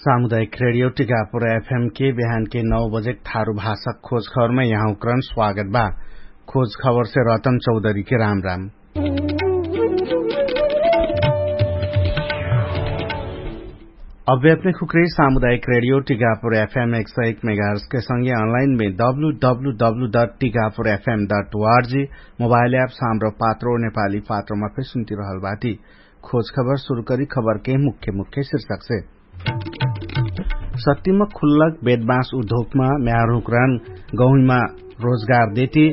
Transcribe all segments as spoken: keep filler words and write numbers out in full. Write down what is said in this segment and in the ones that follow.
सामुदायिक रेडियो टिकापुर एफएम के बिहान के नौ बजेक थारु भाषक खोज खबरमै यहाँउक्रन स्वागत बा। खोज खबरसे रतन चौधरी के राम राम। अभ्यात्मिक हुक्रे सामुदायिक रेडियो टिकापुर एफएम एक सय एक मेगाहर्स के संगे अनलाइन मे W W W dot Tikapur FM dot ORG mobile app साम्रो पात्रो नेपाली पात्रोमा फे सुन्ति रहल बाटी। खोज खबर सुरु करी खबर के मुख्य मुख्य शिर्षक से। सत्तिमा खुल्लक बेदबास उद्योगमा म्याहरुहुँकरान गहुइमा रोजगार देती।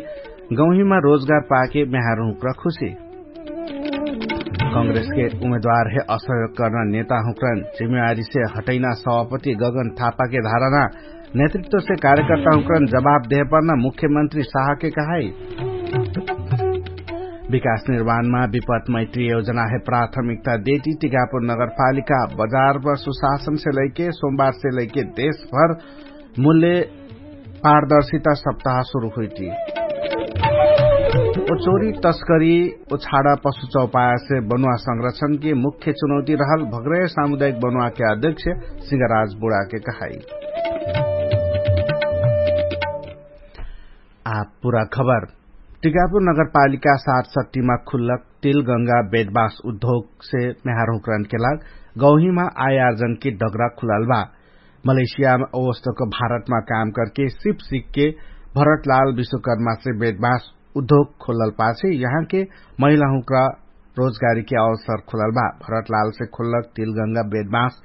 गहुइमा रोजगार पाके म्याहरुहुँकरा खुशी। कंग्रेसके उमेदवार हे असहयोग कर्ना नेताहुँकरान जिम्मेवारीसे हटैना सभापति गगन थापाके धाराना। नेतृत्वसे कार्यकर्ताहुँकरान जवाब देहपर्ना मुख्यमन्त्री साहके कहाई। विकास निर्माणमा विपत मैत्री योजना हे प्राथमिकता देती टिकापुर नगरपालिका। बजारपर सुशासनसे लैके सोमबारसे लैके देशभर मूल्य पारदर्शिता सप्ताह सुरु हुइटी। ओ चोरी तस्करी ओ छाडा पशु चौपायासे बनुवा संरक्षणके मुख्य चुनौती रहल भग्रय सामुदायिक बनुवाके अध्यक्ष सिंहराज बुढाके कहाई। आ पुरा खबर। टिकापुर नगरपालिका सात सट्टीमा खुल्लक तिलगंगा बेदबास उद्योगसे म्याहरहुँकरानके लाग गौहीमा आयार्जनके डगरा खुलाल बा। मलेसियामा अवस्तक भारतमा काम करके सिप सिकके भरतलाल विश्वकर्मासे बेदबास उद्योग खोलल पाछे यहाँके महिलाहुँकरा रोजगारीके अवसर खोलल बा। भरतलालसे खोलक तिलगंगा बेदबास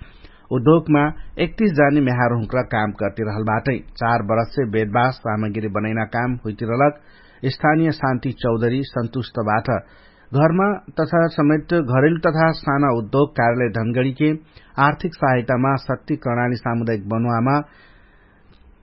उद्योगमा एकतीस जानी म्याहरहुँकरा काम करती रहल बाटै। चार बरससे बेदबास सामग्री बनैना काम हुइती रहलक। स्थानीय शान्ति चौधरी सन्तुष्ट बाट। घरमा तथा समेत घरेलु तथा साना उद्योग कार्यालय धनगडीके आर्थिक सहायतामा शक्ति कर्णाली सामुदायिक बनुवामा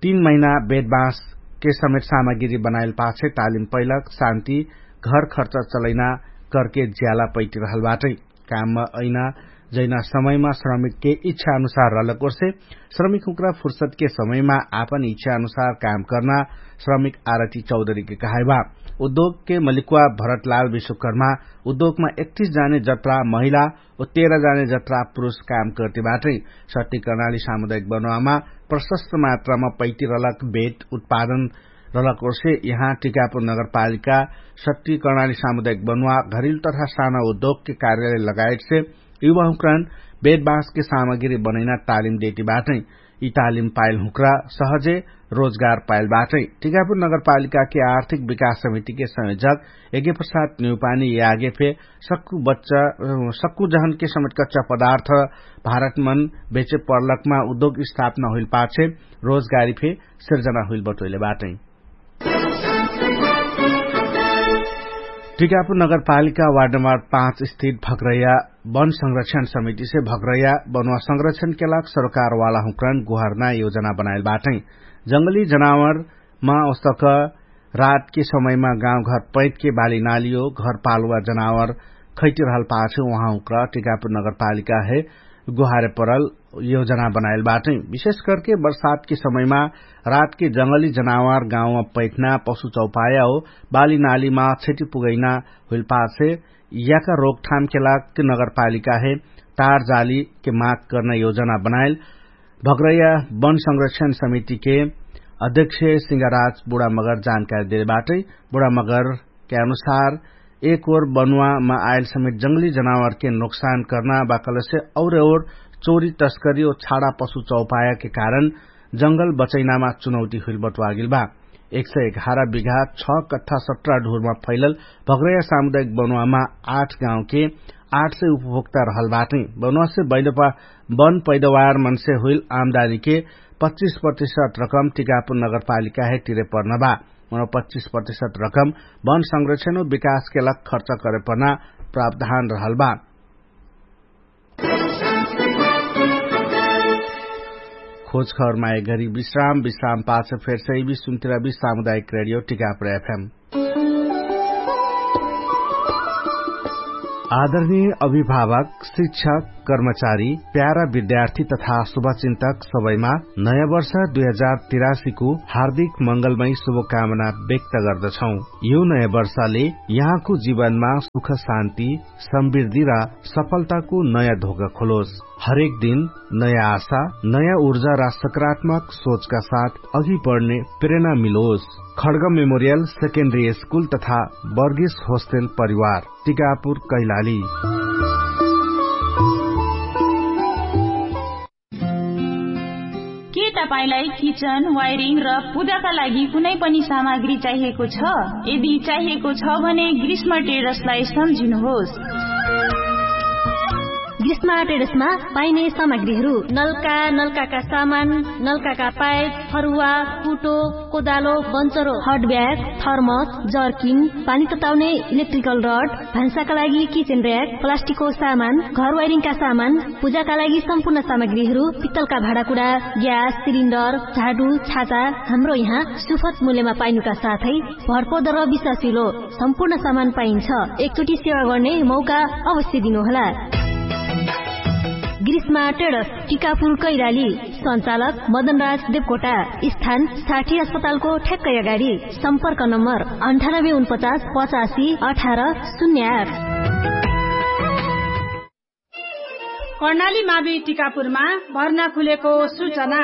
तीन महिना बेदबाँसके समेत सामग्री बनाइल पाछे तालिम पैलक शान्ति घर खर्च चलैना करके ज्याला पैटिरहल बाटै। काममा ऐना जैना समयमा श्रमिकके इच्छा अनुसार रहलक ओर्से श्रमिकहुँक्रा फुर्सदके समयमा आपन इच्छा अनुसार काम कर्ना श्रमिक आरती चौधरीके कहाइबा। उद्योगके मलिकवा भरतलाल विश्वकर्मा उद्योगमा एकतीस जाने जत्रा महिला ओ तेह्र जाने जत्रा पुरुष काम कर्तिबाटै। सट्टी कर्णाली सामुदायिक बनुवामा प्रशस्त मात्रामा पैतिरलक बेट उत्पादन रलक ओर्से यहाँ टिकापुर नगरपालिका सट्टी कर्णाली सामुदायिक बनुवा घरिल तथा साना उद्योगके कार्यालय लगायतसे युवाहुँक्रान बेट बाँसके सामग्री बनैना तालिम देतिबाटै। यि तालिम पाइल हुँक्रा सहजे रोजगार पाइल बाटै। टिकापुर नगरपालिकाके आर्थिक विकास समितिके संयोजक यज्ञप्रसाद न्युपानी यागे फे सक्कु बच्चा सक्कु जहनके समेट कच्चा पदार्थ भारतमन बेचे पर्लकमा उद्योग स्थापना हुइल पाछे रोजगारी फे सिर्जना हुइल बटोइले बाटै। टिकापुर नगरपालिका वार्ड नम्बर पाँच स्थित भक्रैया वन संरक्षण समितिसे भक्रैया बनुवा संरक्षणके लाग सरकारवाला हुँक्रन गुहार्ना योजना बनाइल बाटै। जंगली जनावरमा ओस्तक रातके समयमा गाउँघर पैतके बाली नालियो घरपालुवा जनावर खैटिरहल पाछे उहाँ हुँक्रा टिकापुर नगरपालिका हे गुहारे परल योजना बनाइल बाटै। विशेष करके बर्सातके समयमा रातके जंगली जनावर गाउँमा पैठना पशु चौपाया हो बाली नालीमा क्षति पुगैना हुइल पाछे याका रोकथामके लाग नगरपालिका हे तार जालीके माग कर्ना योजना बनाइल भग्रैया वन संरक्षण समितिके अध्यक्ष सिंहराज बुढामगर जानकारी देले बाटै। बुढामगरके अनुसार एक ओर बनुवामा आइल समेत जंगली जनावरके नोक्सान कर्ना बाकलसे और और चोरी तस्करी और छाडा पशु चौपायाके कारण जंगल बचैनामा चुनौती हुइल बटुवागेल बा। एक सय एघार बिघा छ कट्ठा सट्रा ढुरमा फैलल भग्रैया सामुदायिक बनुवामा आठ गाउँके आठ सय उपभोक्ता रहल बाटै। बनुवासे बैलपा वन पैदवार मनसे हुइल आमदानीके पच्चिस प्रतिशत रकम टिकापुर नगरपालिका हे तिरे पर्न बा। मनो पच्चिस प्रतिशत रकम वन संरक्षण हो विकासके लाग खर्च करे पर्ना प्रावधान रहल बा। खोज खबरमा एक घरी विश्राम विश्राम पाछ फेर सही भी सुन्तिरा भी सामुदायिक रेडियो टिकापुर एफएम। आदरणीय अभिभावक शिक्षक कर्मचारी, प्यारा विद्यार्थी तथा शुभचिन्तक सबैमा नयाँ वर्ष दुई हजार तिरासीको हार्दिक मंगलमय शुभकामना व्यक्त गर्दछौं। यो नयाँ वर्षले यहाँको जीवनमा सुख शान्ति, समृद्धि र सफलताको नयाँ धोका खोलोस। हरेक दिन नयाँ आशा, नयाँ ऊर्जा र सकारात्मक सोचका साथ अघि बढ्ने प्रेरणा मिलोस। खड्ग मेमोरियल सेकेन्डरी स्कुल तथा बर्गेस होस्टेल परिवार, टिकापुर कैलाली। के तपाईंलाई किचन, वायरिङ र पूजाका लागि कुनै पनि सामग्री चाहिएको छ? यदि चाहिएको छ भने ग्रीष्म ट्रेडर्सलाई सम्झिनुहोस्। ग्रीष्म ट्रेडर्समा पाइने सामग्रीहरू: नलका, नलकाका सामान, नलकाका पाइप, फरुवा, कुटो, कोदालो, बन्चरो, हट ब्याग, थर्मस, जर्किन, पानी तताउने इलेक्ट्रिकल रड, भान्साका लागि किचन र्‍याक, प्लास्टिकको सामान, घर वायरिङका सामान, पूजाका लागि सम्पूर्ण सामग्रीहरू, पित्तलका भाँडाकुडा, ग्यास सिलिन्डर, झाडु, छाता, हाम्रो यहाँ सुफत मूल्यमा पाइनुका साथै भरपर्दो र विश्वासिलो सम्पूर्ण सामान पाइन्छ। एकचोटि सेवा गर्ने मौका अवश्य दिनुहोला। ग्रीष्मा ट्रेडर्स, टिकापुर कैलाली। सञ्चालक मदनराज देवकोटा। स्थान साठी अस्पतालको ठ्याक्कै अगाडि। सम्पर्क नम्बर अन्ठानब्बे उनपचास पचासी अठार शून्य आठ। कर्णाली मावि टिकापुरमा भर्ना खुलेको सूचना।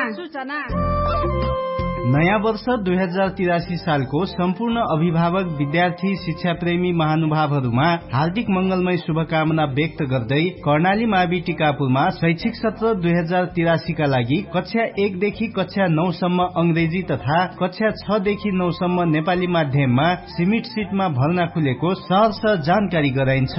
नयाँ वर्ष दुई हजार तिरासी सालको सम्पूर्ण अभिभावक, विद्यार्थी, शिक्षाप्रेमी महानुभावहरूमा हार्दिक मंगलमय शुभकामना व्यक्त गर्दै कर्णाली मावि टिकापुरमा शैक्षिक सत्र दुई हजार तिरासीका लागि कक्षा एक देखि कक्षा नौ सम्म अंग्रेजी तथा कक्षा छ देखि नौ सम्म नेपाली माध्यममा सीमित सिटमा भर्ना खुलेको सहर्ष जानकारी गराइन्छ।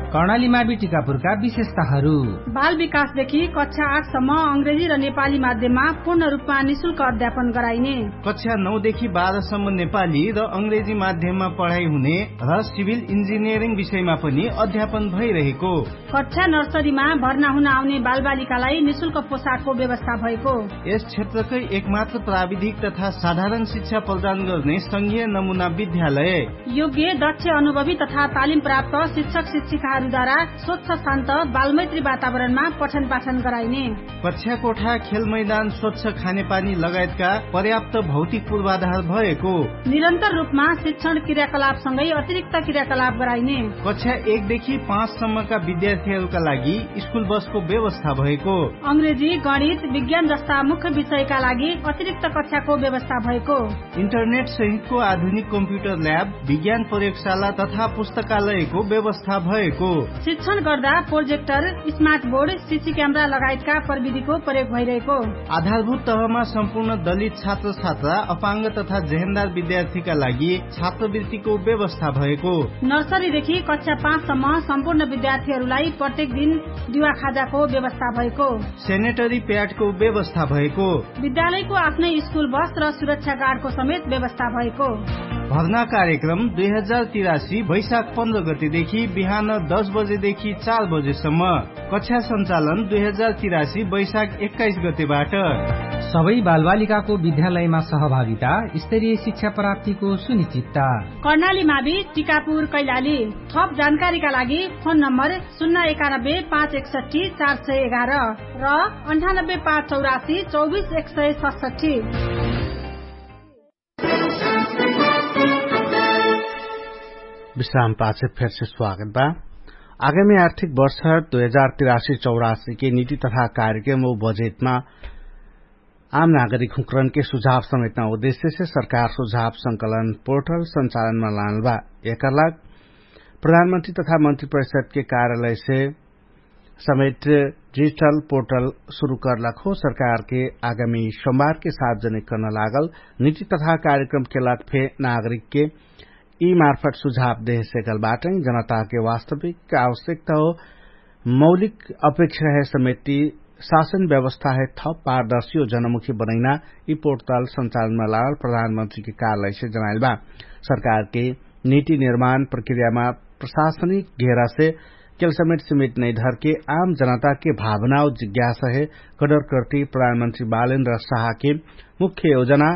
कर्णाली मावि टिकापुरका विशेषताहरू। बाल विकासदेखि कक्षा आठ सम्म अंग्रेजी र नेपाली माध्यममा पूर्ण रूपमा निशुल्क अध्यापन गराइने। कक्षा नौ देखि बाह्र सम्म नेपाली र अंग्रेजी माध्यममा पढाइ हुने र सिभिल इन्जिनियरिङ विषयमा पनि अध्यापन भइरहेको। कक्षा नर्सरीमा भर्ना हुन आउने बालबालिकालाई निशुल्क पोशाकको व्यवस्था भएको। यस क्षेत्रकै एकमात्र प्राविधिक तथा साधारण शिक्षा प्रदान गर्ने संघीय नमुना विद्यालय। योग्य, दक्ष, अनुभवी तथा तालिम प्राप्त शिक्षक शिक्षिकाहरूद्वारा स्वच्छ, शान्त, बालमैत्री वातावरणमा पठन पाठन गराइने। कक्षा कोठा, खेल मैदान, स्वच्छ खानेपानी लगायतका पर्याप्त भौतिक पूर्वाधार भएको। निरन्तर रूपमा शिक्षण क्रियाकलापसँगै अतिरिक्त क्रियाकलाप गराइने। कक्षा एक देखि पाँच सम्मका विद्यार्थीहरूका लागि स्कुल बसको व्यवस्था भएको। अंग्रेजी, गणित, विज्ञान जस्ता मुख्य विषयका लागि अतिरिक्त कक्षाको व्यवस्था भएको। इन्टरनेट सहितको आधुनिक कम्प्युटर ल्याब, विज्ञान प्रयोगशाला तथा पुस्तकालयको व्यवस्था भएको। शिक्षण गर्दा projector, smart board, C C camera लगायतका प्रविधिको प्रयोग भइरहेको। आधारभूत तहमा सम्पूर्ण दलित छात्र छात्रा, अपाङ्ग तथा जेहेन्दार विद्यार्थीका लागि छात्रवृत्तिको व्यवस्था भएको। नर्सरीदेखि कक्षा पाँच सम्म सम्पूर्ण विद्यार्थीहरूलाई प्रत्येक दिन दिवा खाजाको व्यवस्था भएको। सेनेटरी प्याडको व्यवस्था भएको। विद्यालयको आफ्नै स्कुल बस र सुरक्षा गार्डको समेत व्यवस्था भएको। भर्ना कार्यक्रम दुई हजार तिरासी वैशाख पन्ध्र गतेदेखि बिहान दस बजेदेखि चार बजेसम्म। कक्षा सञ्चालन दुई हजार तिरासी वैशाख एक्काइस गतेबाट। सबै बालबालिकाको विद्यालयमा सहभागिता, स्तरीय शिक्षा प्राप्तिको सुनिश्चितता। कर्णाली मावि, टिकापुर, कैलाली। थप जानकारीका लागि फोन नम्बर शून्य एकानब्बे पाँच एकसट्ठी चार सय एघार र अन्ठानब्बे पाँच चौरासी चौबिस एक सय सतसट्ठी। विश्राम पाछे फेरसे स्वागत बा। आगामी आर्थिक वर्ष दुई हजार तिरासी चौरासी के नीति तथा कार्यक्रम व बजेटमा आम नागरिक हुँकरनके सुझाव समेटना उद्देश्यसे सरकार सुझाव संकलन पोर्टल सञ्चालनमा लानल बा। एकर लाग प्रधानमन्त्री तथा मन्त्री परिषदके कार्यालयसे समेट डिजिटल पोर्टल सुरु करलक हो। सरकारके आगामी सोमबारके सार्वजनिक कर्न लागल नीति तथा कार्यक्रमके लाग फे नागरिकके यी मार्फत सुझाव देहे सेकल बाटै। जनताके वास्तविक आवश्यकता हो मौलिक अपेक्षा हे समेटी शासन व्यवस्था हे थप पारदर्शी हो जनमुखी बनैना यी पोर्टल सञ्चालनमा लागल प्रधानमन्त्रीके कार्यालयसे जनाइल बा। सरकारके नीति निर्माण प्रक्रियामा प्रशासनिक घेरासे केल समेट सिमेट नैधरके आम जनताके भावनाओ जिज्ञासा हे। कडरकर्ती प्रधानमन्त्री बालेन्द्र शाहके मुख्य योजना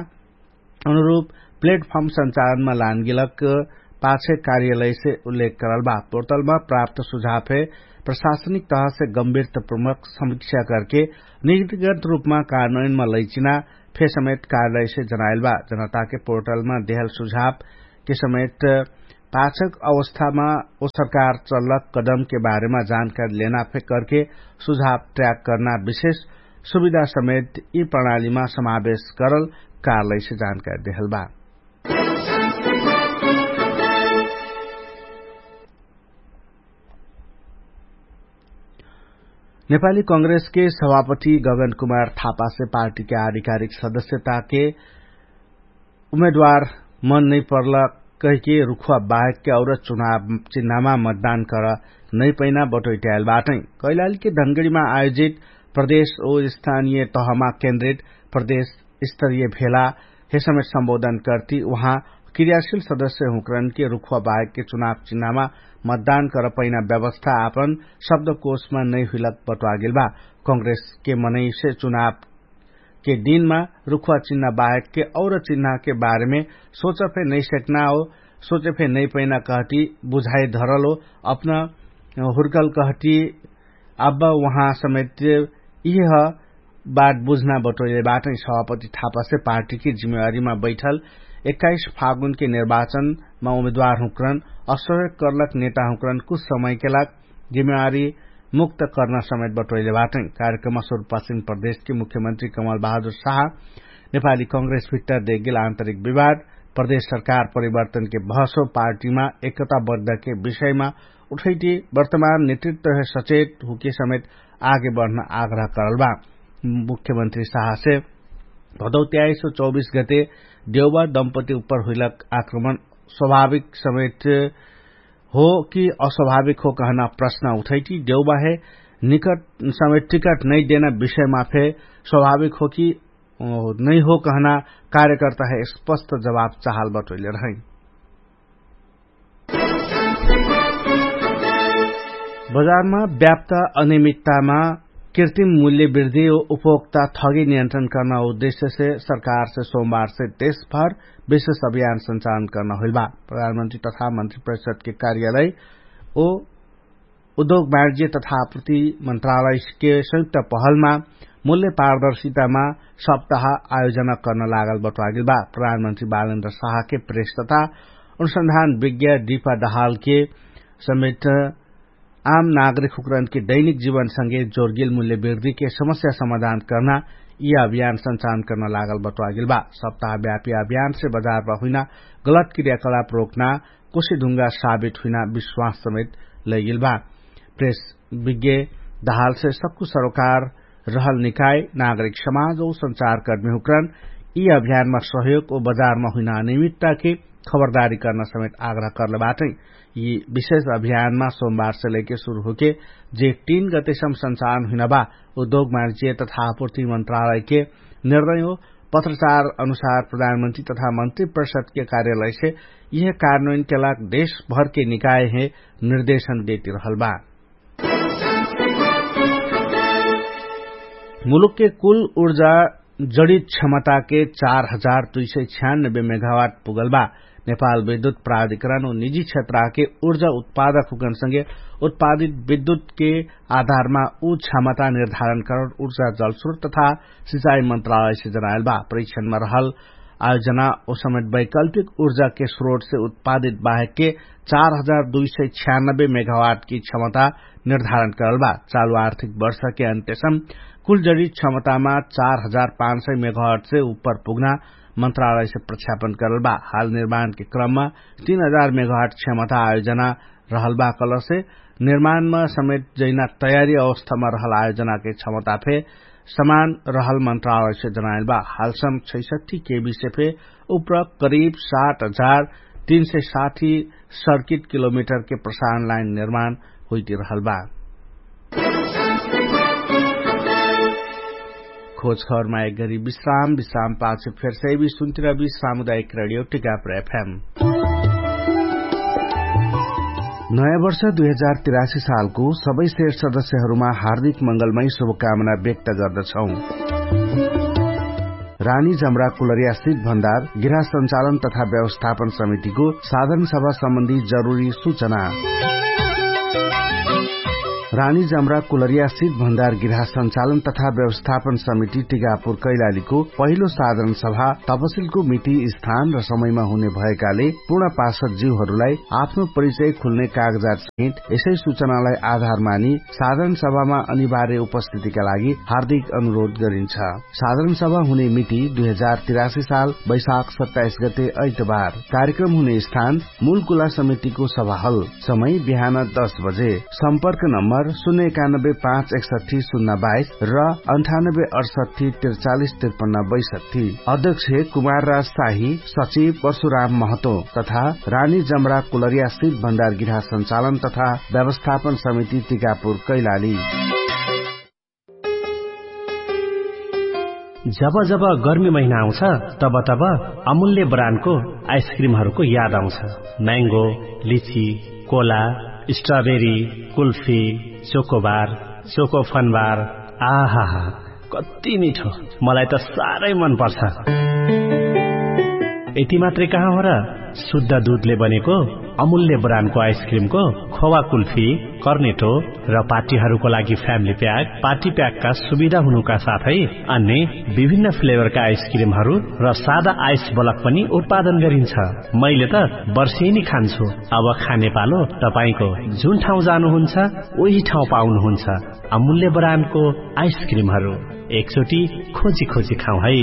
अनुरूप प्लेटफर्म सञ्चालनमा लानगिलक पाछे कार्यालयसे उल्लेख करल बा। पोर्टलमा प्राप्त सुझाव हे प्रशासनिक तहसे गम्भीर त प्रमुख समीक्षा करके निगतिगत रूपमा कार्यान्वयनमा लैचिना फेसमेत कार्यालयसे जनाइल बा। जनताके पोर्टलमा देहल सुझावके समेत पाछक अवस्थामा ओ सरकार चल्लक कदमके बारेमा जानकारी लेना फे करके सुझाव ट्र्याक कर्ना विशेष सुविधा समेत यि प्रणालीमा समावेश करल कार्यालयसे जानकारी देहल बा। नेपाली कंग्रेसके सभापति गगन कुमार थापासे पार्टीके आधिकारिक सदस्यताके उमेदवार मन नै पर्ल कहिके रुखुवा बाहेकके और चुनाव चिन्हमा मतदान कर नै पैना बटोइट्याएल बाटै। कैलालीके धनगडीमा आयोजित प्रदेश ओ स्थानीय तहमा केन्द्रित प्रदेश स्तरीय भेला हे समेत सम्बोधन कर्ति उहाँ क्रियाशील सदस्य हुँकरनके रुखुवा बाहेकके चुनाव चिन्हमा मतदान कर पैना व्यवस्था आपन शब्दकोशमा नै हुइलक बटोआगेल बा। कंग्रेसके मनैसे चुनावके दिनमा रुखुवा चिन्ह बाहेकके और चिन्हके बारेमे सोच फे नै सेक्ना हो, सोच फे नै पैना कहति बुझाइ धरल हो। अपना हुर्कल कहति अब उहाँ समेत इह बात बुझ्ना बटोइले बाटै। सभापति थापासे पार्टीके जिम्मेवारीमा बैठल एक्काइस फागुनके निर्वाचनमा उमेदवार हुँकरन असहयोग कर्लक नेता हुँकरन कुछ समयके लाग जिम्मेवारी मुक्त कर्ना समेत बटोइले बाटै। कार्यक्रममा सुरुपासिन प्रदेशके मुख्यमन्त्री कमल बहादुर साहा नेपाली कंग्रेस भित्तर देगेल आन्तरिक विवाद, प्रदेश सरकार परिवर्तनके बहसो पार्टीमा एकता बद्धके विषयमा उठैटी वर्तमान नेतृत्वहे सचेत हुके समेत आगे बढ्न आग्रह करल बा। मुख्यमन्त्री साहसे भदौ त्याइस सौ चौबिस गते देउबा दम्पति उप्पर हुइलक आक्रमण स्वाभाविक समेत हो कि अस्वाभाविक हो कहना प्रश्न उठैटी देउबाहे निकट समेत टिकट नै देना विषयमा फे स्वाभाविक हो कि नै हो कहना कार्यकर्ताहे स्पष्ट जवाफ चाहल बटोइले रहै। बजारमा व्याप्त अनियमित्तामा कृत्रिम मूल्य वृद्धि उपभोक्ता थगी नियन्त्रण कर्ना उद्देश्यसे सरकारसे सोमबारसे देशभर विशेष अभियान सञ्चालन कर्ना होइल बा। प्रधानमन्त्री तथा मन्त्री परिषदके कार्यालय ओ उद्योग वाणिज्य तथा आपूर्ति मन्त्रालयके संयुक्त पहलमा मूल्य पारदर्शितामा सप्ताह आयोजना कर्न लागल बटोआगेल बा। प्रधानमन्त्री बालेन्द्र साहके प्रेस तथा अनुसन्धान विज्ञा दीपा दहालके समेत आम नागरिक हुकरनके दैनिक जीवनसँगे जोर्गेल मूल्य वृद्धिके समस्या समाधान कर्ना यि अभियान सञ्चालन कर्न लागल बटोआगेल बा। सप्ताह व्यापी अभियानसे बजारमा हुइना गलत क्रियाकलाप रोक्ना कोसिढुङ्गा साबित हुइना विश्वास समेत लैगेल बा। प्रेस विज्ञ दहालसे सक्कु सरोकार रहल निकाय नागरिक समाज ओ सञ्चारकर्मी हुकरन यि अभियानमा सहयोग ओ बजारमा हुइना अनियमित्ताके खबरदारी कर्ना समेत आग्रह कर्ल बाटै। यि विशेष अभियानमा सोमबारसे लैके सुरु होके जे तीन गतेसम सञ्चालन हुइना बा। उद्योग मार्जिय तथा आपूर्ति मन्त्रालयके निर्णय हो पत्रचार अनुसार प्रधानमन्त्री तथा मन्त्री परिषदके कार्यालयसे यिहे कार्यान्वयनके लाग देशभरके निकायहे निर्देशन देति रहल बा। मुलुकके कुल उर्जा जडित क्षमताके चार हजार दुई सय छ्यानबे मेघावाट पुगल बा। नेपाल विद्युत प्राधिकरण उ निजी क्षेत्राके उर्जा उत्पादक हुकनसँगे उत्पादित विद्युतके आधारमा उ क्षमता निर्धारण करन उर्जा जलस्रोत तथा सिचाइ मन्त्रालयसे जनाएल बा। परीक्षणमा रहल आयोजना ओ समेत वैकल्पिक उर्जाके स्रोटसे उत्पादित बाहेकके चार हजार दुई सय छ्यानबे मेघावाटकी क्षमता निर्धारण करल बा। चालु आर्थिक वर्षके अन्त्यसम कुल जडित क्षमतामा चार हजार पाँच सय मेघावाटसे उप्पर पुग्ना मन्त्रालयसे प्रक्षापन करल बा। हाल निर्माणके क्रममा तीन हजार मेघावाट क्षमता आयोजना रहल बा कलसे निर्माणमा समेत जैना तयारी अवस्थामा रहल आयोजनाके क्षमता फे समान रहल मन्त्रालयसे जनाएल बा। हालसम छैसठी केबीसे फे उप्र करिब सात हजार तीन सय साठी सर्किट किलोमिटरके प्रसारण लाइन निर्माण होइति रहल बा। खोज खबरमा एक गरी विश्राम विश्राम पाछ फेर सैबी सुन्तिरबी सामुदायिक रेडियो टिकापुर एफएम। नयाँ वर्ष दुई हजार तिरासी सालको सबै शेर सदस्यहरूमा हार्दिक मंगलमय शुभकामना व्यक्त गर्दछौँ। रानी जमरा कुलरिया सिट भण्डार गृह सञ्चालन तथा व्यवस्थापन समितिको साधारण सभा सम्बन्धी जरुरी सूचना। रानी जमरा कुलरिया सित भण्डार गिरहा सञ्चालन तथा व्यवस्थापन समिति टिकापुर कैलालीको पहिलो साधारण सभा तपसिलको मिति स्थान र समयमा हुने भएकाले पूर्ण पार्षद जीवहरूलाई आफ्नो परिचय खुल्ने कागजात सहित यसै सूचनालाई आधार मानि साधारण सभामा अनिवार्य उपस्थितिका लागि हार्दिक अनुरोध गरिन्छ। साधारण सभा हुने मिति दुई हजार तिरासी साल वैशाख सत्ताइस गते ऐतबार। कार्यक्रम हुने स्थान मूल कुला समितिको सभाहल। समय बिहान दस बजे। सम्पर्क नम्बर शून्य एकानब्बे पाँच एकसट्ठी शून्य बाइस र अन्ठानब्बे अठसट्ठी त्रिचालिस त्रिपन्न बैसट्ठी। अध्यक्ष कुमार राज शाही, सचिव परशुराम महतो तथा रानी जमरा कुलरिया सित भण्डार गिरहा सञ्चालन तथा व्यवस्थापन समिति टिकापुर कैलाली। जब जब गर्मी महिना आउँछ, तब तब अमूल्य ब्रान्डको आइसक्रिमहरूको याद आउँछ। म्याङ्गो, लिची, Cola, strawberry, kulfi, chocobar, choco Fun Bar, आहाहा, कति मिठो। मलाई त साह्रै मन पर्छ। यति मात्रै कहाँ हो र, शुद्ध दुधले बनेको अमूल्य ब्रान्डको आइसक्रिमको खोवा कुल्फी, कर्नेटो र पार्टीहरूको लागि फ्यामिली प्याक, पार्टी प्याकका सुविधा हुनुका साथै अन्य विभिन्न फ्लेभरका आइसक्रिमहरू र सादा आइस ब्लक पनि उत्पादन गरिन्छ। मैले त वर्षेनी खान्छु। अब खाने पालो। तपाईंको जुन ठाउँ जानुहुन्छ, उही ठाउँ पाउनुहुन्छ अमूल्य ब्रान्डको आइसक्रिमहरू। एकचोटि खोजी खोजी खाउँ है।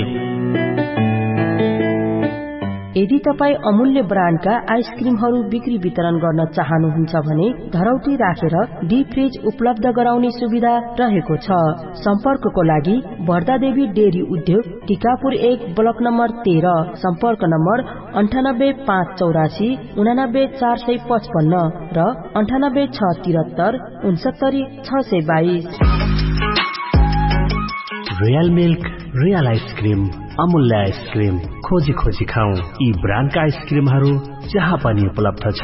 यदि तपाईं अमूल्य ब्रान्डका आइसक्रिमहरू बिक्री वितरण गर्न चाहनुहुन्छ भने धरौटी राखेर डिप फ्रिज उपलब्ध गराउने सुविधा रहेको छ। सम्पर्कको लागि भर्दादेवी डेरी उद्योग, टिकापुर एक, ब्लक नम्बर तेह्र। सम्पर्क नम्बर अन्ठानब्बे पाँच चौरासी उनानब्बे चार सय पचपन्न र अन्ठानब्बे छ तिरत्तर उनसत्तरी छ सय बाइस। रियल मिल्क, रियल आइसक्रिम, अमूल्य आइसक्रिम। खोजी खोजी खाउँ यी ब्रान्डका आइसक्रिमहरू जहाँ पनि उपलब्ध छ।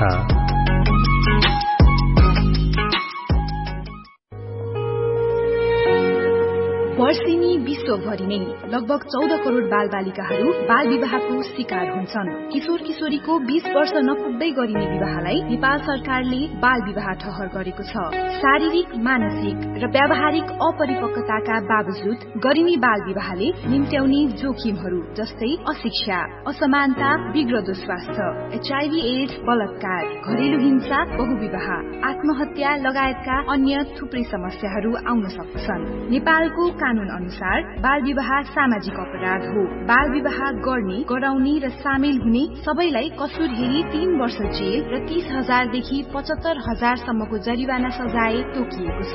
वर्षेनी विश्वभरि नै लगभग चौध करोड बालबालिकाहरू बाल विवाहको शिकार हुन्छन्। किशोर किशोरीको बीस वर्ष नपुग्दै गरिने विवाहलाई नेपाल सरकारले बाल विवाह ठहर गरेको छ। शारीरिक, मानसिक र व्यावहारिक अपरिपक्वताका बावजुद गरिने बाल विवाहले निम्त्याउने जोखिमहरू जस्तै अशिक्षा, असमानता, बिग्रदो स्वास्थ्य, एचआईभी एड्स, बलात्कार, घरेलु हिंसा, बहुविवाह, आत्महत्या लगायतका अन्य थुप्रै समस्याहरू आउन सक्दछन्। नेपालको कानून अनुसार बाल विवाह सामाजिक अपराध हो। बाल विवाह गर्ने, गराउने र सामेल हुने सबैलाई कसुर हेरी तीन वर्ष जेल र तीस हजार देखि पचहत्तर हजार सम्मको जरिवाना सजाय तोकिएको छ।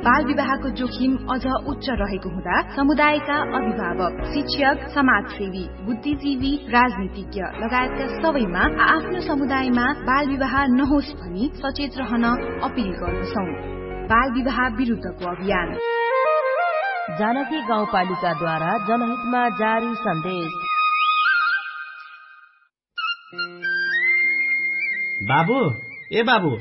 बाल विवाहको जोखिम अझ उच्च रहेको हुँदा समुदायका अभिभावक, शिक्षक, समाजसेवी, बुद्धिजीवी, राजनीतिज्ञ लगायतका सबैमा आफ्नो समुदायमा बाल विवाह नहोस् भनी सचेत रहन अपिल गर्दछौं। बाल विवाह विरुद्धको अभियान। जानकी गाउँपालिकाद्वारा जनहितमा जारी सन्देश। बाबु, ए बाबु,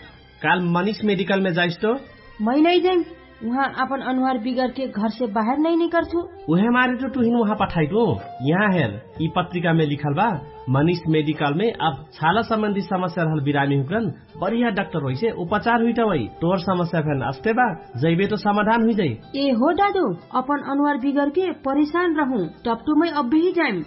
काल मनिष मेडिकलमे जाइस तो? मै नै जाइम। उहाँ आपन अनुहार बिगरके घरसे बाहेर नै निकर्छु। उहे मारे तो टुहिन उहाँ पठाइटु। यहाँ हेर, यि पत्रिकामे लिखल बा, मनिष मेडिकलमे अब छाला सम्बन्धी समस्या रहल बिरामी हुकरन बढिया डाक्टर होइसे उपचार हुइटवै। तोर समस्या फेन अस्ते बा, जैबे तो समाधान हुइजै। ए हो दादु, अपन अनुहार बिगरके परेशान रहु, टपटुमै अब्बेही जाइम।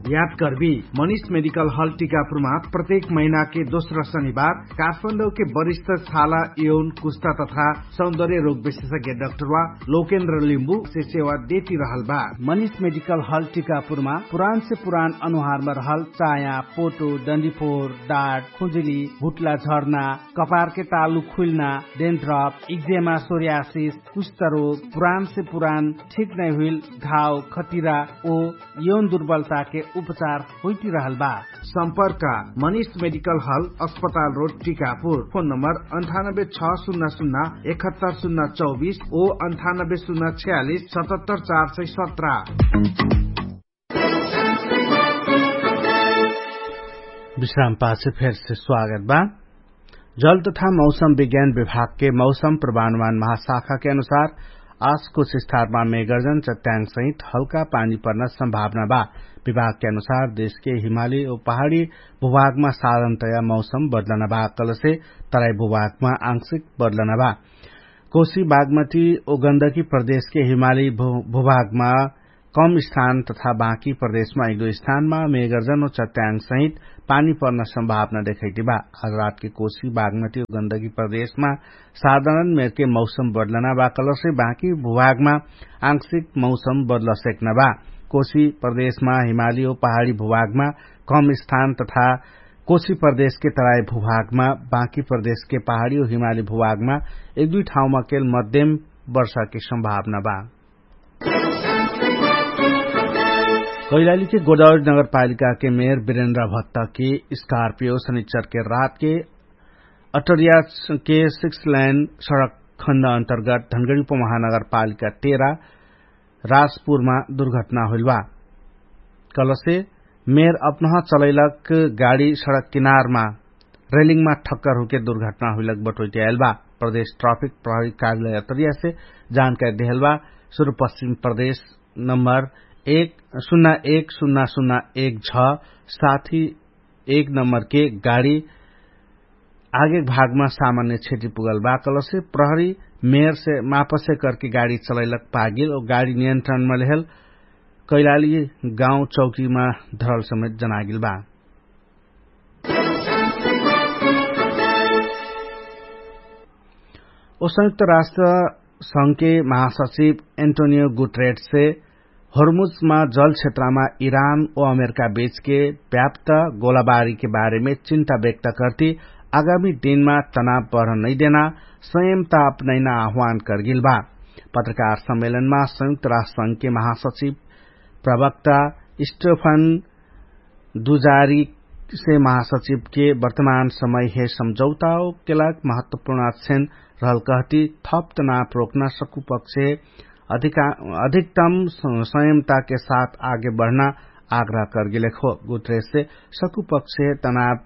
याद करबी, मनिष मेडिकल हल टिकापुरमा प्रत्येक महिनाके दोस्रा शनिबार काठमाडौके वरिष्ठ छाला, यौन, कुस्ता तथा सौन्दर्य रोग विशेषज्ञ डाक्टरवा लोकेन्द्र लिम्बु से सेवा देती रहल बा। मनिष मेडिकल हल टिकापुरमा पुरान से पुरान अनुहारमा रहल चाया, पोटो, डन्डीफोर, डाट, खुजुली, भुट्ला झर्ना, कपारके तालु खुइल्ना, डेन्ड्रप, इक्जेमा, सोरियासिस, कुष्ठरोग, पुरान से पुरान ठीक नै हुइल घाव, खटिरा ओ यौन दुर्बलताके उपचार होइटिरहल बा। सम्पर्क मनिष मेडिकल हल, अस्पताल रोड, टिकापुर। फोन नम्बर अन्ठानब्बे छ शून्य शून्य एकहत्तर शून्य चौबिस ओ अन्ठानब्बे शून्य छयालिस सतहत्तर चार सय सत्र। विश्राम पाछे फेरसे स्वागत बा। जल तथा मौसम विज्ञान विभागके मौसम पूर्वानुमान महाशाखाके अनुसार आस कुछ स्थानमा मेगर्जन चट्याङ सहित हल्का पानी पर्ना सम्भावना बा। विभागके अनुसार देशके हिमाली ओ पहाडी भुभागमा साधनतया मौसम बदलना बा कलसे तराई भुभागमा आंशिक बदलना बा। कोशी बागमती ओ गन्दकी प्रदेशके हिमाली भुभागमा कम स्थान तथा बाँकी प्रदेशमा एक दुई स्थानमा मेगर्जन ओ चट्याङ सहित पानी पर्ना सम्भावना देखैति बा। आज रातके कोशी बागमती ओ गन्दकी प्रदेशमा साधारण मेरके मौसम बदलना बा कलसे बाँकी भुभागमा आंशिक मौसम बदल सेक्न बा। कोशी प्रदेशमा हिमाली ओ पहाडी भुभागमा कम स्थान तथा कोशी प्रदेशके तराई भुभागमा बाँकी प्रदेशके पहाडी ओ हिमाली भुभागमा एक दुई ठाउँमा केल मध्यम वर्षाके सम्भावना बा। कैलालीके गोदावरी नगरपालिकाके मेयर बिरेन्द्र भत्तके स्कार्पियो सनिच्चरके रातके अटरियाके सिक्स ल्यान सडक खण्ड अन्तर्गत धनगडी उपमहानगरपालिका तेरा राजपुरमा दुर्घटना होइल बा। कलसे मेयर अपनह चलैलक गाडी सडक किनारमा रेलिङमा ठक्कर हुके दुर्घटना हुइलक बटोइट्याएल बा। प्रदेश ट्राफिक प्रहरी कार्यालय अटरियासे जानकारी देहल बा। सुरुपश्चिम प्रदेश नम्बर एक सुन्ना एक सुन्ना सुन्ना एक छ साथी एक नम्बरके गाडी आगेक भागमा सामान्य क्षति पुगल बा कलसे प्रहरी मेयरसे मापसे करके गाडी चलैलक पागिल ओ गाडी नियन्त्रणमा लेहल कैलाली गाउँ चौकीमा धरल समेत जनागिल बा। ओ संयुक्त राष्ट्र संघके महासचिव एन्टोनियो गुटरेटसे होर्मुजमा जल क्षेत्रमा इरान ओ अमेरिका बीचके व्याप्त गोलाबारीके बारेमे चिन्ता व्यक्त कर्ति आगामी दिनमा तनाव बढ नैदेना संयमता अपनैना आह्वान कर्गिल बा। पत्रकार सम्मेलनमा संयुक्त राष्ट्र संघके महासचिव प्रवक्ता स्टेफन दुजारी से महासचिवके वर्तमान समय हे सम्झौताओ केलाक महत्वपूर्ण अक्षण रहल कहती थप तनाव रोक्न सकुपक्ष अधिकतम संयमताके साथ आगे बढ्न आग्रह कर्गेलेखो। गुत्रेससे सकुपक्ष तनाव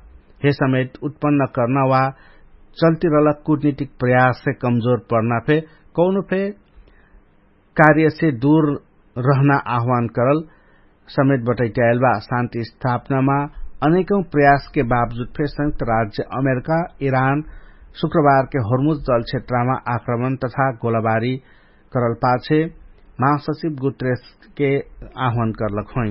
हे समेत उत्पन्न कर्न वा चल्तिरहल कुटनीतिक प्रयाससे कमजोर पर्न फे कौनो फे कार्यसे दूर रहना आह्वान करल समेत बटैट्याएल बा। शान्ति स्थापनामा अनेकौं प्रयासके बावजुद फे संयुक्त राज्य अमेरिका इरान शुक्रबारके होर्मुज जल क्षेत्रमा आक्रमण तथा गोलाबारी करल पाछे महासचिव गुत्रेसके आह्वान करलक होइ।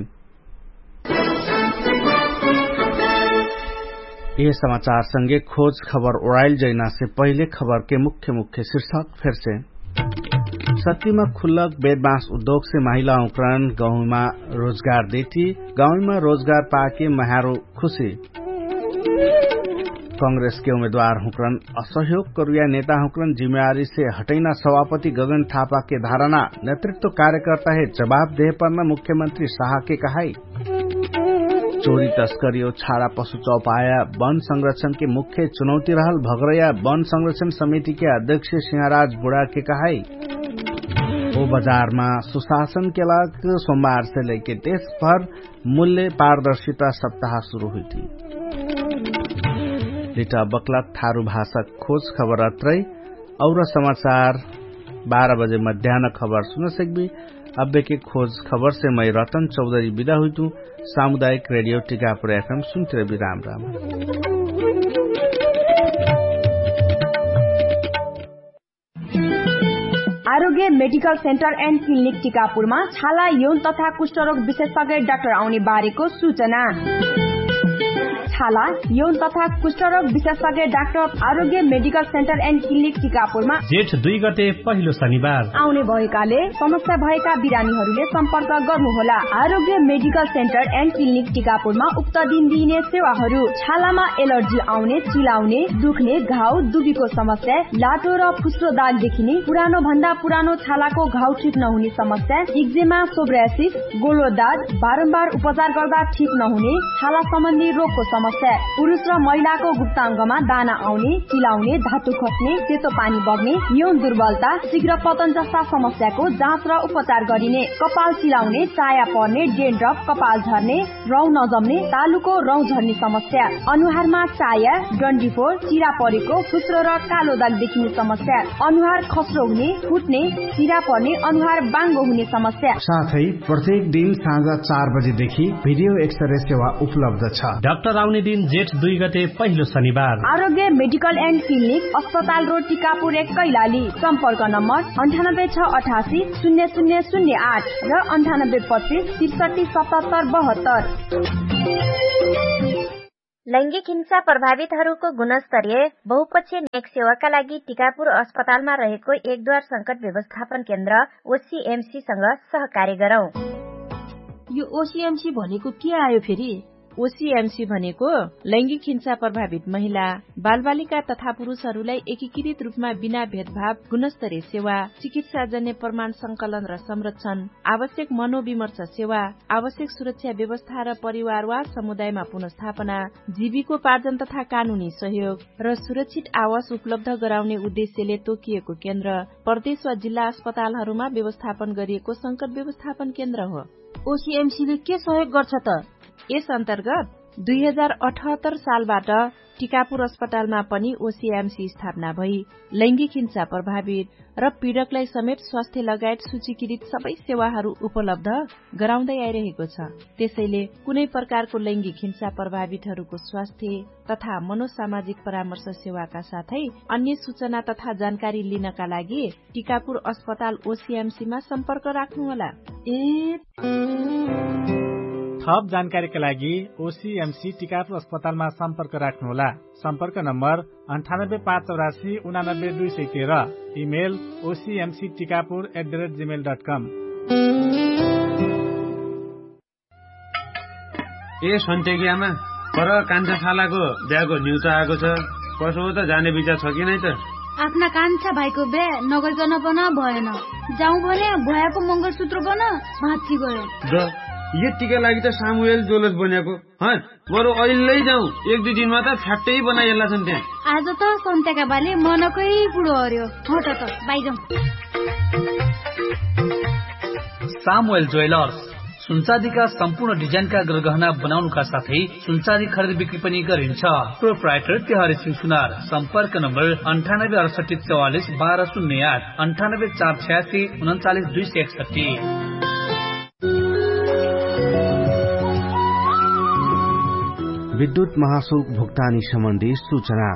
यह समाचार संगे खोज खबर ओराइल जैनासे पहिले खबरके मुख्य मुख्य शीर्षक फेरसे सत्तीमा खुल्लक बेदमास उद्योगसे महिला उक्रण गाउँमा रोजगार देती गाउँमा रोजगार पाके मह्यारो खुशी। कांग्रेसके उम्मेदवार हुँक्रन असहयोग करुया नेता हुँक्रन जिम्मेवारीसे हटैना सभापति गगन थापाके धारणा नेतृत्व कार्यकर्ताहे जवाब देहपर्न मुख्यमन्त्री साहके कहाई। चोरी तस्करी ओ छाडा पशु चौपाया वन संरक्षणके मुख्य चुनौती रहल भगरया वन संरक्षण समितिके अध्यक्ष सिंहराज बुढाके कहाई। ओ बजारमा सुशासनके लाग सोमबारसे लैके देशभर मूल्य पारदर्शिता सप्ताह सुरु हुइती। लिटा बक्लक थारु भाषा खोज खबर अत्रै। और समाचार बाह्र बजे मध्यान खबर सुनसक्बी। अब्बेके खोज खबरसे मै रतन चौधरी बिदा हुइतु। सामुदायिक रेडियो टिकापुर एफएम सुन्तिर बिराम राम। आरोग्य मेडिकल सेन्टर एन्ड क्लिनिक टिकापुरमा छाला यौन तथा कुष्ठरोग विशेषज्ञ डाक्टर आउने बारेको सुचना। छाला यौन तथा कुष्ठरोग विशेषज्ञ डाक्टर आरोग्य मेडिकल सेन्टर एन्ड क्लिनिक टिकापुरमा जेठ दुई गते पहिलो शनिबार आउने भएकाले समस्या भएका बिरामीहरूले सम्पर्क गर्नुहोला। आरोग्य मेडिकल सेन्टर एन्ड क्लिनिक टिकापुरमा उक्त दिन दिइने सेवाहरू छालामा एलर्जी आउने, चिलाउने, दुख्ने, घाउ दुबीको समस्या, लाटो र फुस्रो दाग देखिने, पुरानो भन्दा पुरानो छालाको घाउ ठिक नहुने समस्या, इक्जेमा, सोब्रासिस, गोलो दाग, बारम्बार उपचार गर्दा ठिक नहुने छाला सम्बन्धी रोगको समस्या पुरुष र महिलाको गुप्ताङ्गमा दाना आउने, चिलाउने, धातु खस्ने, सेतो पानी बग्ने, यौन दुर्बलता, शीघ्र पतन जस्ता समस्याको जाँच र उपचार गरिने। कपाल चिलाउने, चाया पर्ने, डेन्ड्रप, कपाल झर्ने, रौँ नजम्ने, तालुको रौँ झर्ने समस्या, अनुहारमा चाया, डन्डीफोर, चिरा परेको, फुस्रो र कालो दाग देखिने समस्या, अनुहार खस्रो हुने, फुट्ने, चिरा पर्ने, अनुहार बाङ्गो हुने समस्या। साथै प्रत्येक दिन साँझ चार बजेदेखि भिडियो एक्सरे सेवा उपलब्ध छ। डाक्टर आउने दिन जेठ दुई गते पहिलो शनिबार। आरोग्य मेडिकल एन्ड क्लिनिक, अस्पताल रोड, टिकापुर एक, कैलाली। सम्पर्क नम्बर अन्ठानब्बे छ अठासी शून्य शून्य शून्य आठ र अन्ठानब्बे पच्चिस त्रिसठी सतहत्तर बहत्तर। लैङ्गिक हिंसा प्रभावितहरूको गुणस्तरीय बहुपक्षीय नेक सेवाका लागि टिकापुर अस्पतालमा रहेको एक द्वार संकट व्यवस्थापन केन्द्र ओसिएमसीसँग सहकार्य गरौँ। यो ओसिएमसी भनेको के आयो फेरि? ओसिएमसी भनेको लैङ्गिक हिंसा प्रभावित महिला, बालबालिका तथा पुरुषहरूलाई एकीकृत रूपमा बिना भेदभाव गुणस्तरीय सेवा, चिकित्साजन्य प्रमाण संकलन र संरक्षण, आवश्यक मनोविमर्श सेवा, आवश्यक सुरक्षा व्यवस्था र परिवार वा समुदायमा पुनर्स्थापना, जीविकोपार्जन तथा कानुनी सहयोग र सुरक्षित आवास उपलब्ध गराउने उद्देश्यले तोकिएको केन्द्र प्रदेश वा जिल्ला अस्पतालहरूमा व्यवस्थापन गरिएको संकट व्यवस्थापन केन्द्र हो। ओसिएमसीले के सहयोग गर्छ त? यस अन्तर्गत दुई हजार अठहत्तर सालबाट टिकापुर अस्पतालमा पनि ओसिएमसी स्थापना भई लैङ्गिक हिंसा प्रभावित र पीडकलाई समेत स्वास्थ्य लगायत सूचीकृत सबै सेवाहरू उपलब्ध गराउँदै आइरहेको छ। त्यसैले कुनै प्रकारको लैङ्गिक हिंसा प्रभावितहरूको स्वास्थ्य तथा मनोसामाजिक परामर्श सेवाका साथै अन्य सूचना तथा जानकारी लिनका लागि टिकापुर अस्पताल ओसिएमसीमा सम्पर्क राख्नुहोला। ए थप जानकारीका लागि ओसिएमसी टिकापुर अस्पतालमा सम्पर्क राख्नुहोला। सम्पर्क नम्बर अन्ठानब्बे पाँच चौरासी उनानब्बे दुई सय तेह्र। Email OCMC Tikapur at the rate gmail dot com. ए सन्त्याकी आमा, पर कान्छा छालाको ब्यागो न्युचा आएको छ। कसो हो त, जाने विचार छ कि नै त? आफ्ना कान्छा भाइको ब्या नगरिकन पन भएन। जाउँ भने भ्वायाको मङ्गलसूत्र पन भाँच्ची गयो। द यतिका लागि त सामुएल जोलस बन्याको। हँ, बरु अहिल्लै जाउँ, एक दुई दिनमा त फ्याट्टै बनाइहाल्ला छन् त्यहाँ। आज त सन्त्याका बाले मनकै कुरो हर्यो। हट त बाइजाउँ। सामुएल ज्वेलर्स सुनचाँदीका सम्पूर्ण डिजाइनका गरगहना बनाउनुका साथै सुनचाँदी खरिद बिक्री पनि गरिन्छ। प्रोप्राइटर तिहारी सिंह सुनार। सम्पर्क नम्बर अन्ठानब्बे अडसट्ठी चौवालिस बाह्र शून्य आठ, अन्ठानब्बे चार छयासी उनन्चालिस दुई सय एकसट्ठी। विद्युत महाशुल्क भुक्तानी सम्बन्धी सूचना।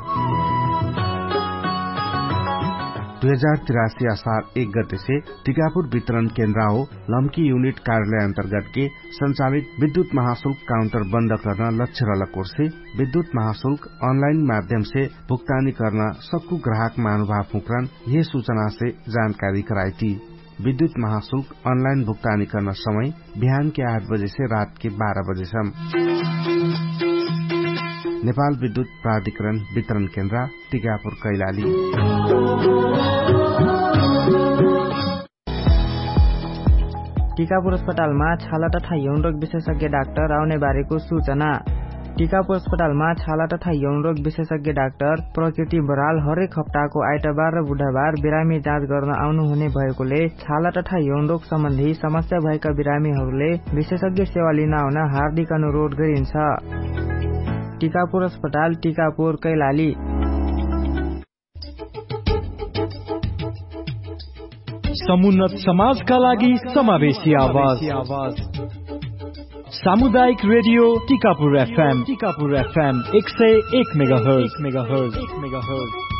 दुई हजार तिरासी असार एक गतेसे टिकापुर वितरण केन्द्राओ लम्की युनिट कार्यालय अन्तर्गतके सञ्चालित विद्युत महाशुल्क काउन्टर बन्द कर्न लक्ष्य रलकोर्से विद्युत महाशुल्क अनलाइन माध्यमसे भुक्तानी कर्न सक्कु ग्राहक महानुभाव हुँक्रन यहे सूचनासे जानकारी कराइती। विद्युत महाशुल्क अनलाइन भुक्तानी कर्न समय बिहानके आठ बजेसे रातके बाह्र बजेसम। नेपाल विद्युत प्राधिकरण वितरण केन्द्रा टिकापुर कैलाली। टिकापुर अस्पतालमा छाला तथा यौनरोग विशेषज्ञ डाक्टर आउने बारेको सूचना। टिकापुर अस्पतालमा छाला तथा यौनरोग विशेषज्ञ डाक्टर प्रकृति बराल हरेक हप्ताको आइतबार र बुधबार बिरामी जाँच गर्न आउनुहुने भएकोले छाला तथा यौनरोग सम्बन्धी समस्या भएका बिरामीहरूले विशेषज्ञ सेवा लिन आउन हार्दिक अनुरोध गरिन्छ। टिकापुर अस्पताल, टिकापुर, कैलाली। समुन्नत समाजका लागि समावेशी आवाज। सामुदायिक रेडियो टिकापुर एफएम, टिकापुर एफएम एक सय एक मेगाहर्ज, मेगाहर्ज, मेगाहर्ज।